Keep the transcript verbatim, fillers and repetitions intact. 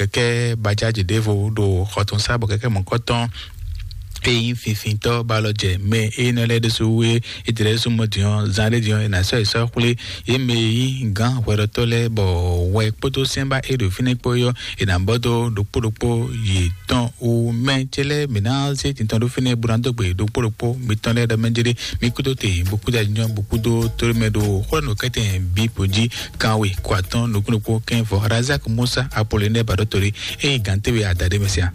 kɛkɛ bajaji ɖevo ɖo xɔtɔn sá bɔ kɛkɛ mɔkɔtɔn eyi finfintɔ balɔ jɛ mɛ eyi nɔ lɛ ɖesu wue ete ɖe su mɔ diɔ zan ɖe diɔ ena sɔ esɔ xwle ye mɛ yi gan hwɛɖɔtɔ lɛ bɔ wɛ kpódó sɛnba e ɖo fínɛ kpó yɔ ena bɔ do ɖokpó ɖokpó yi tɔn o mɛ tse lɛ mɛ na se tintɔn ɖo fínɛ buna dó gbe ɖokpó ɖokpó mi tɔn lɛ ɖɔ mɛ jere mi kúdó te bukúdó anyɔ bukúdó tóró mɛ ɖo xwlɛ nɔ kɛtɛ bi po jí kanwe kó atɔn nukúnukú kɛn vɔ razak musa apolonɛ baɖɔtɔli eye gantɛwe adaɖe mɛ sia.